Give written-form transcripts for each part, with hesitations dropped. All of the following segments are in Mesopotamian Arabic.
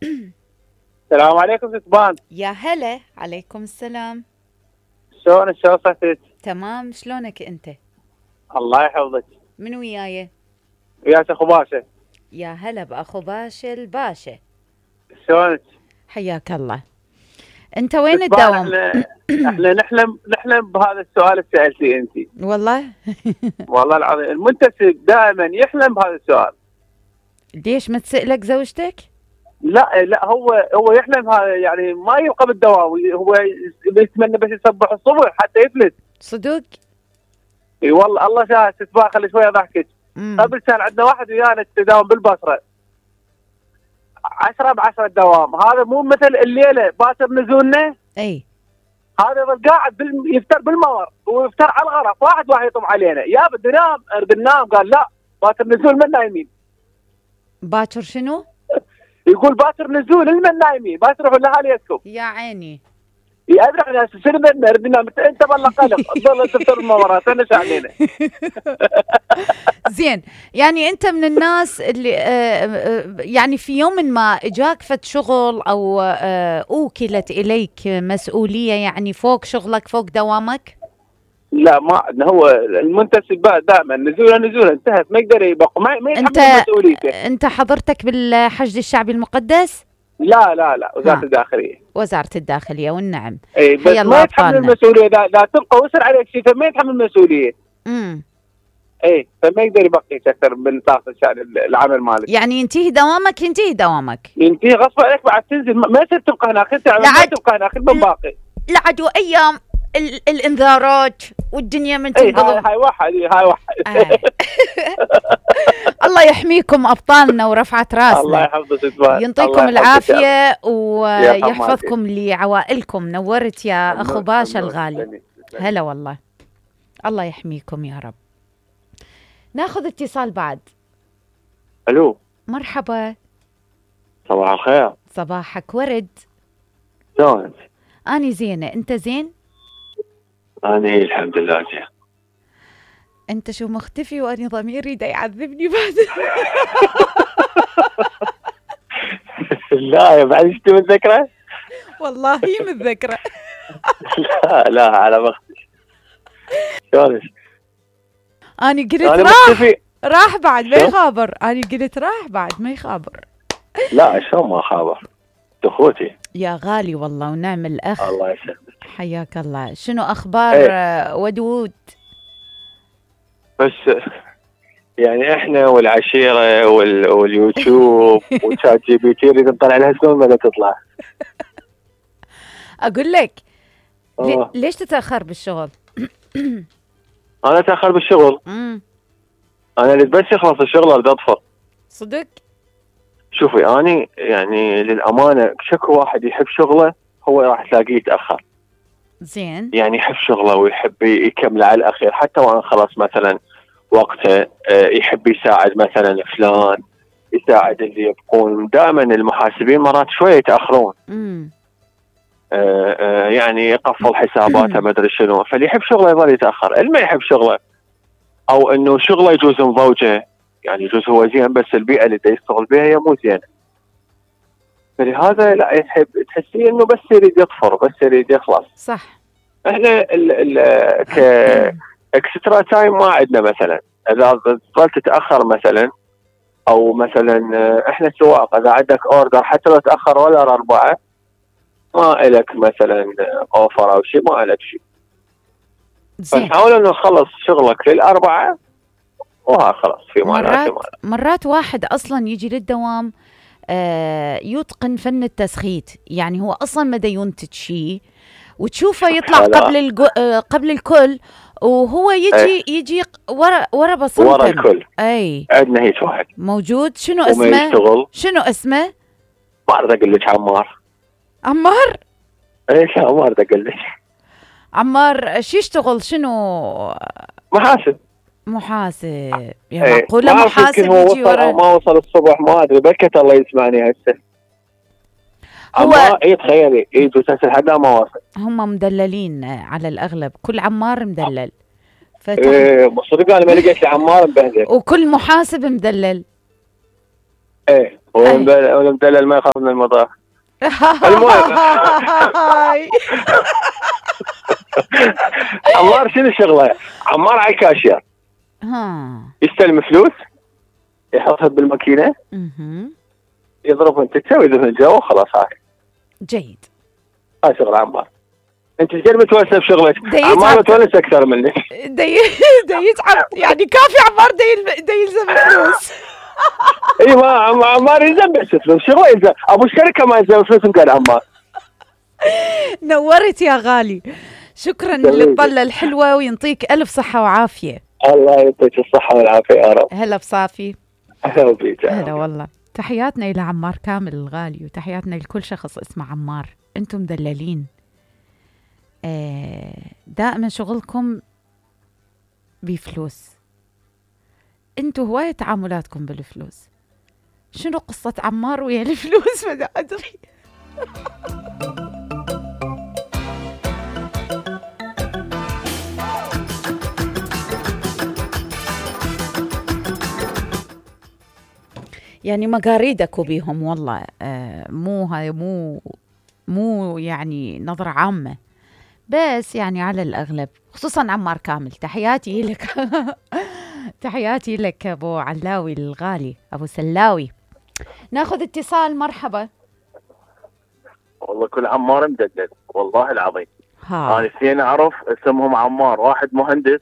السلام عليكم ستبان. يا هلا، عليكم السلام. شلونك؟ شلون صحتك؟ تمام، شلونك انت؟ الله يحفظك. من وياي؟ وياك اخو باشا. يا هلا باخو باشا الباشا. شلونك؟ حياك الله. انت وين ستبان، الدوام؟ احنا نحلم بهذا السؤال اللي سالتيه انت. والله. والله العظيم المنتسب دائما يحلم بهذا السؤال. ليش ما تسألك زوجتك؟ لا هو يحلم هذا، يعني ما يبقى بالدوام، هو يتمنى بس يصبح الصبح حتى يفلت. صدق؟ اي والله الله شاهد ستبان، خلي شويه ضحكك. قبل كان عندنا واحد ويانا تداوم بالبصره 10 ب10 الدوام، هذا مو مثل الليله باكر نزولنا. اي هذا يظل قاعد يفتر بالمور ويفتر على الغرف، واحد يطم علينا، يا بدي نام اريد ننام، قال لا باكر نزول من نايمين. باكر شنو؟ يقول باكر نزول المن نايمين، ما تروحوا لاهاليكم. يا عيني. ادري ناس شنو بدنا نريد ننام، انت بالله قلق تظل تفتر المورات انا علينا. زين، يعني انت من الناس اللي يعني في يوم ما اجاك فد شغل او اوكلت اليك مسؤوليه، يعني فوق شغلك فوق دوامك؟ لا ما عندنا، هو المنتسب دائما نزوله انتهت، ما يقدر يبقى، ما يتحمل مسؤوليته. انت حضرتك بالحشد الشعبي المقدس؟ لا وزارة الداخلية. وزارة الداخلية والنعم. اي بس ما يتحمل المسؤولية، لا تبقى وسر عليك شيء فما يتحمل المسؤولية. اي فما يقدر يبقيك اكثر من طاقة العمل مالك. يعني ينتهي دوامك ينتهي غصب عليك، بعد تنزل ما يصير تبقى هناك، انت ما تبقى هناك من باقي. لعدوا ايام الانذارات والدنيا من تنقلب. هاي واحد. الله يحميكم ابطالنا ورفعت راسنا. الله يحفظك، ينطيكم العافيه ويحفظكم لعوائلكم. نورت يا اخو باشا الغالي. هلا والله، الله يحميكم يا رب. ناخذ اتصال بعد. الو، مرحبا. صباح الخير. صباحك ورد. شلونك؟ اني زينه، انت زين؟ اني الحمد لله زين. انت شو مختفي واني ضميري دا يعذبني بعد. لا يا بعد انت متذكره؟ والله متذكره. لا على مختفي. شلونك؟ اني قلت راح بعد ما يخابر. اني قلت راح بعد ما يخابر. لا شلون ما خابر، اخوتي يا غالي والله ونعم الاخ. الله يسلمك. حياك الله. شنو اخبار ودود؟ بس يعني احنا والعشيره واليوتيوب وشات جي بي تي نريد نطلع لها شلون ما تطلع. اقول لك ليش تتاخر بالشغل؟ انا اتاخر بالشغل. انا اللي بس يخلص الشغل اريد اطفر. صدق؟ شوفي اني يعني للامانه شكو واحد يحب شغله هو راح تلاقيه يتاخر. زين. يعني يحب شغله ويحب يكمله على الاخير، حتى وان خلص مثلا وقته يحب يساعد مثلا فلان، يساعد اللي يبقون. دائما المحاسبين مرات شويه يتاخرون. يعني يقفل حساباته ما ادري شنو، فاللي يحب شغله يظل يتاخر. اللي ما يحب شغله او انه شغله يجوز مضوجه، يعني يجوز هو زين بس البيئه اللي يشتغل بها هي مو زينه، فلهذا لا يحب، تحسيه انه بس يريد يطفر، بس يريد يخلص. صح. احنا اكسترا تايم ما عندنا. مثلا اذا ظلت تتاخر مثلا، او مثلا احنا سواق اذا عندك اوردر حتى لو تاخر ولا 4 ما الك مثلا اوفر او شيء، ما الك شيء. فنحاول انه نخلص شغلك لل4 وها خلاص. في مرات واحد اصلا يجي للدوام يتقن فن التسخيت، يعني هو اصلا ما دا ينتج شيء وتشوفه يطلع قبل الكل، وهو يجي ورا بصمته ورا الكل. اي عندنا هيك واحد موجود. شنو اسمه؟ ما اريد اقول لك. عمار؟ ايش عمار ده اقول لك؟ عمار شو يشتغل؟ شنو؟ محاسب. يا معقوله محاسب يجي ورا؟ ما وصل الصبح ما ادري، بكت الله يسمعني هسه. عمار تخيلي يجوا تسال حدا ما وصل. هم مدللين على الاغلب، كل عمار مدلل. صدق انا ما لقيت لي عمار مبهدل. وكل محاسب مدلل. ايه والمدلل ما يخاف من المطار. المهم عمار شنو شغله؟ عمار على الكاشير يستلم فلوس يحطها بالماكينه يضرب انت تسوي ذهن الجو وخلاص. هاي جيد. هاي شغل عمار. انت ايش قد متونسه بشغلك؟ عمار متونس اكثر منك. دي يتعب يعني. كافي عمار دي يلزم فلوس. اي ما عمار يلزم بس فلوس. شغله يلزم. ابو الشركه ما يلزم فلوس قال عمار. نورت يا غالي. شكرا للطلة الحلوة وينطيك ألف صحة وعافية. الله يعطيك الصحة والعافية يا رب. هلا بصافي. هلا بيك. هلا والله. تحياتنا إلى عمار كامل الغالي وتحياتنا لكل شخص اسمه عمار. أنتم مدللين. دائما شغلكم بفلوس. أنتم هواية تعاملاتكم بالفلوس. شنو قصة عمار ويا الفلوس؟ ما أدري. يعني مقاريدك بيهم والله. مو هاي مو يعني نظرة عامة، بس يعني على الأغلب خصوصا عمار كامل. تحياتي لك. تحياتي لك أبو علاوي الغالي، أبو سلاوي. ناخذ اتصال. مرحبا. والله كل عمار مدلل والله العظيم. أنا اثنين أعرف اسمهم عمار، واحد مهندس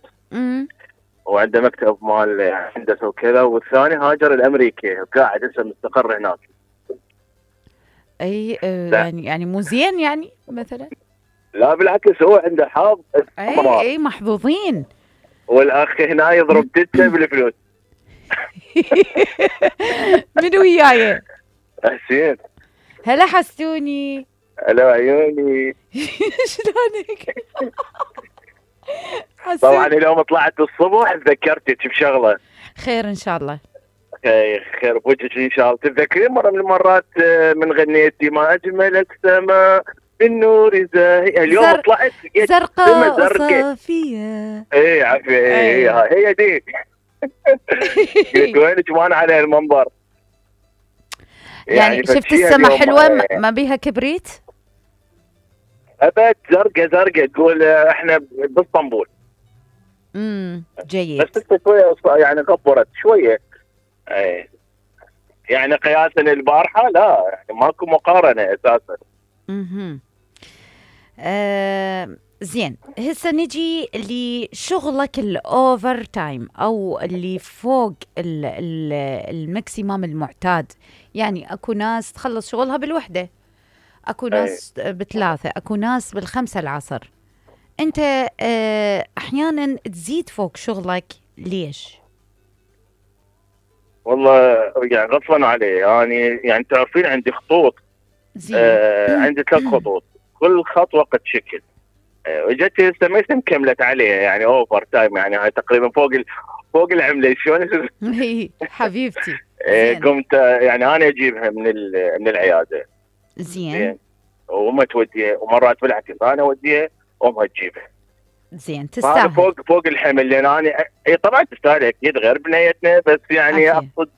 وعنده مكتب مال هندسة وكذا، والثاني هاجر الأمريكي وقاعد هسه مستقر هناك. أي يعني مو زين يعني مثلا؟ لا بالعكس، هو عنده حظ. أي محظوظين. والأخ هنا يضرب تته بالفلوس. من وياي؟ حسين. هلا حسوني. هلا عيوني. شلونك؟ طبعا اليوم طلعت الصبح تذكرتك بشغله. خير ان شاء الله. خير بوجهك ان شاء الله. تتذكرين مره من المرات من غنيتي ما اجملك سما بالنور زاهي؟ اليوم طلعت زرقاء وصافيه. اي عافيه. هي دي. قلت وينك وانا على المنبر؟ يعني شفت السما حلوه ما بيها كبريت؟ ابد زرقاء تقول احنا باسطنبول. جيد. بس شويه يعني كبرت شويه. اي يعني قياسا البارحه لا يعني ماكو مقارنه اساسا. زين. هسه نجي لشغلك الاوفر تايم او اللي فوق الماكسيمم المعتاد. يعني اكو ناس تخلص شغلها بالوحده، اكو ناس بثلاثه، اكو ناس بالخمسة العصر. انت احيانا تزيد فوق شغلك ليش؟ والله يعني غصبا عليه. يعني تعرفين عندي خطوط. عندي 3 خطوط، كل خط وقت شكل. وجت هسه ما كملت عليها يعني اوفر تايم، يعني هاي تقريبا فوق العمله. شلون؟ حبيبتي. قمت يعني انا اجيبها من العياده. زين. وما توديها، ومرات بالعكس انا اوديها وامها تجيبها. زين تستاهل. فوق الحمل، لان انا طبعا تستاهل اكيد غير بنيتنا، بس يعني اقصد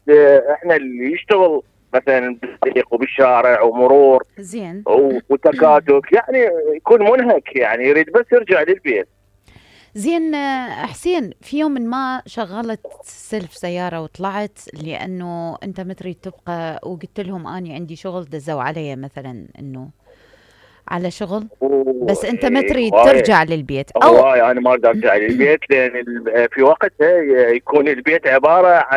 احنا اللي يشتغل مثلا بالطريق وبالشارع ومرور زين وتكاتك يعني يكون منهك، يعني يريد بس يرجع للبيت. زين. حسين، في يوم من ما شغلت سلف سيارة وطلعت لأنه أنت ما تريد تبقى، وقلت لهم أني عندي شغل، دزوا علي مثلا أنه على شغل، بس أنت ما تريد ترجع للبيت؟ أو أنا ما أريد أرجع للبيت، لأن في وقتها يكون البيت عبارة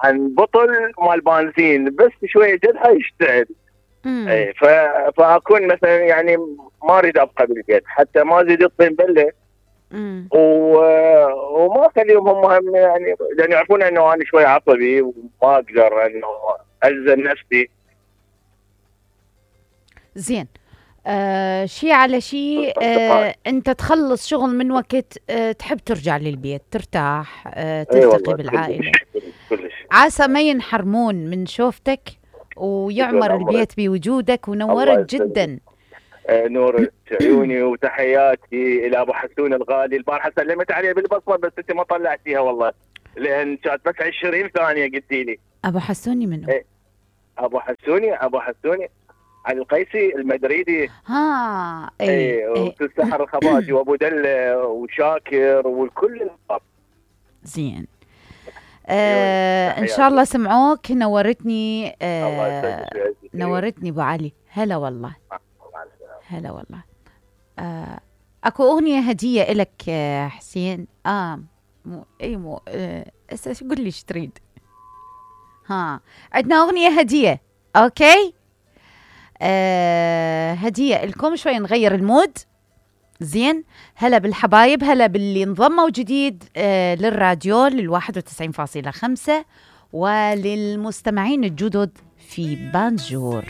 عن بطل مال بنزين بس شوية جدها يشتعل. فأكون مثلا يعني ما أريد أبقى بالبيت حتى ما أزيد الطين بلة. وما أخليهم هم يعني، لأن يعرفون أنه أنا شوي عصبي وما أقدر أنه ألزم نفسي. زين. شيء على شيء. أنت تخلص شغل من وقت تحب ترجع للبيت ترتاح، تلتقي بالعائلة. عسى ما ينحرمون من شوفتك ويعمر البيت بوجودك، ونورت جدا. نور عيوني. وتحياتي الى ابو حسون الغالي. البارحه سلمت عليه بالبصمه بس انت ما طلعتيها والله، لان كانت بس 20 ثانيه قلتي لي. ابو حسوني منو؟ إيه. ابو حسوني علي القيسي المدريدي. اي وأستاذ سحر الخبازي وابو دله وشاكر والكل. زين. ان شاء الله سمعوك. نورتني. نورتني ابو علي. هلا والله. هلا والله. اكو اغنيه هديه لك حسين. مو قول لي ايش تريد. عندنا اغنيه هديه. اوكي. هديه لكم. شوي نغير المود. زين. هلا بالحبايب. هلا باللي انضموا جديد للراديو 91.5 وللمستمعين الجدد في بانجور.